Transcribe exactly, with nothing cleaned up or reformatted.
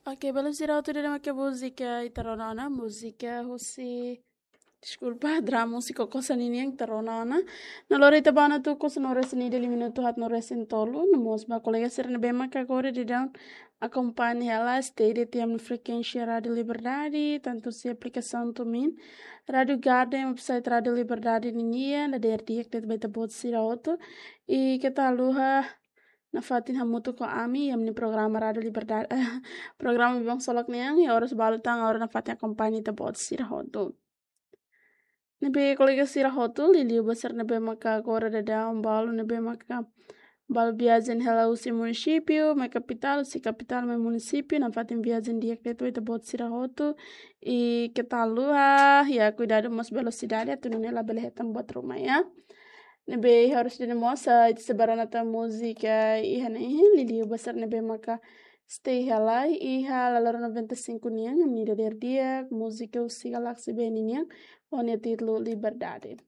Oke, belun sira hotu, ida-ne'e mak múzika ita rona ona, múzika husi, deskulpa, drama husi Koko Sa ninian ita rona ona. No lori ita ba ona tuku sanulu resin ida, liu minutu haatnulu resin tolu, no mós ba kolega sira ne'ebé mak agora daudaun akompaña hela, stay de'it iha ami-nia frekuénsia Rádiu Liberdade, tantu husi aplikasaun TuneIn, Rádiu Garden, website Rádiu Liberdade ninian, dadeer di'ak de'it ba ita-boot sira hotu. I keta haluha nafatin hamutuk ho ami iha ami-nia programa Rádiu Liberdade, programa Biban Ksolok nian, iha oras balu tan agora nafatin akompaña ita-boot sira hotu. Ne'ebé kolega sira hotu, liuliu ba sira ne'ebé maka agora daudaun balu, ne'ebé maka balu viajen hela husi munisípiu mai kapitál, husi kapitál mai munisípiu, nafatin viajen di'ak de'it ba ita-boot sira hotu. I keta haluha, iha kuidadu mós velosidade, atu nune'e labele hetan buat ruma, ya. Ne'ebé iha oras ida-ne'e mós, ah, ita sei bá rona tan múzika iha ne'e, liuliu ba sira ne'ebé maka stay hela iha Lalora noventa e cinco nian, ami-nia dadeer di'ak, múzika husi Galaxy Band nian, ho nia títulu Liberdade.